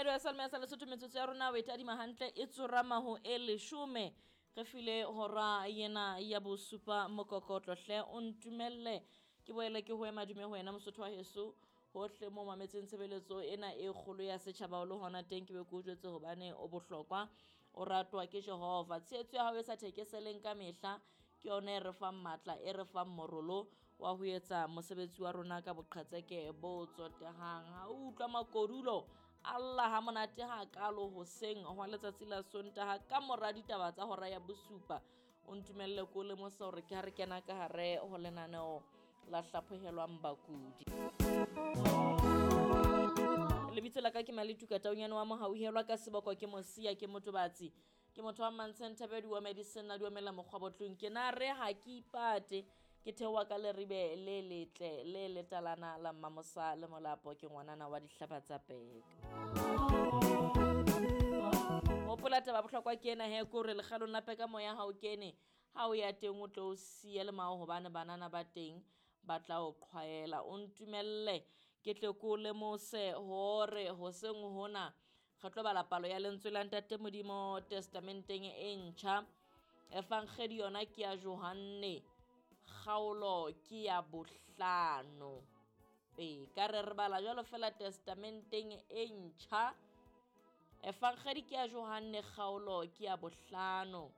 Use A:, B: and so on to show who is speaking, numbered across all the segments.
A: Mamedi wa Salme sa Lesotho, metsotso ya rona o e tadima hantle e tsorama ho e 10, re file hora yena ya bosupa mokokotlo. Hle o ntumelle ke boele ke ho ema dume ho wena Mosotho wa heso hohle mo mametseng tshebeletso ena e kgolo ya setjhaba o le hona teng, ke be ke o jwetse hobane o bohlokwa, o ratwa ke Jehova. Tshehetso ya hao e sa thekeseleng ka mehla ke yona e re fang matla, e re fang morolo wa ho etsa mosebetsi wa rona ka boqhetseke bo tsotehang. Ha o utlwa makodulo alla ha monate ha kalo hoseng hwa letsatsi la Sontaha ka mora ditaba tsa hora ya bosupa, o ntumelle ko lemosa hore ke ha re kena ka hare ho lenaneo la hlaphohelwang bakudi. Lebitso la ka ke Maletuka Taunyane wa Mohauhelwa, ka seboko ke Mosia, ke Motobatsi, ke motho wa Mantsheng Thabedi wa Medicine a duemela mokgwa botlong. Ke na re ha ke ipate, ke theoha ka leribe le letle le letalana la Mmamosa le Molapo, ke ngwanana wa dihlaba tsa peka. Hopola taba bohlokwa ke ena he, ke hore lekgalong la peka moya ha o kene, ha o ya teng o tlo o siya le mao hobane banana ba teng ba tla o qhwaela. O ntumelle ke tle ke o lemose hore hoseng hona re tlo bala palo ya lentswe la Ntate Modimo Testamenteng e ntjha. Evangeli yona ke ya Johanne, kgaolo ke ya 5. Ee, ka re re bala jwalo fela Testamenteng e ntjha. Evangeli ke ya Johanne, kgaolo ke ya 5.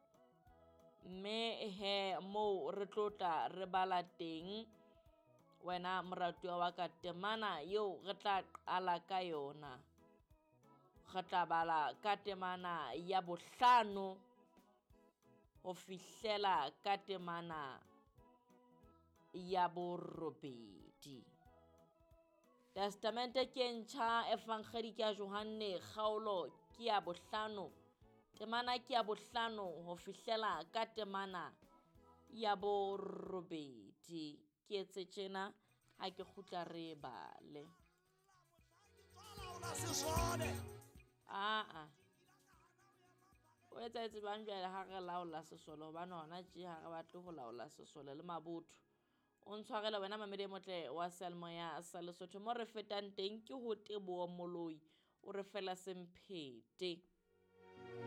A: Mme he moo re tlo tla re bala teng wena moratuwa wa ka temana eo re tla qala ka yona. Re tla bala ka temana ya 5 ho fihlela ka temana ya 8. Testamente ke ntjha, Evangeli ke ya Johanne, kgaolo ke ya 5, temana ke ya 5 ho fihlela ka temana ya 8. Ke etse tjena ha ke kgutla re bale. Aa, o etsahetse jwang jwale ha re laola sesole, hobane hona tje ha re batle ho laola sesole le mabotho. O ntshwarele wena mamedi e motle wa seyalemoya sa Lesotho, mo re fetang teng ke ho Teboho Moloi, o re fela semphete.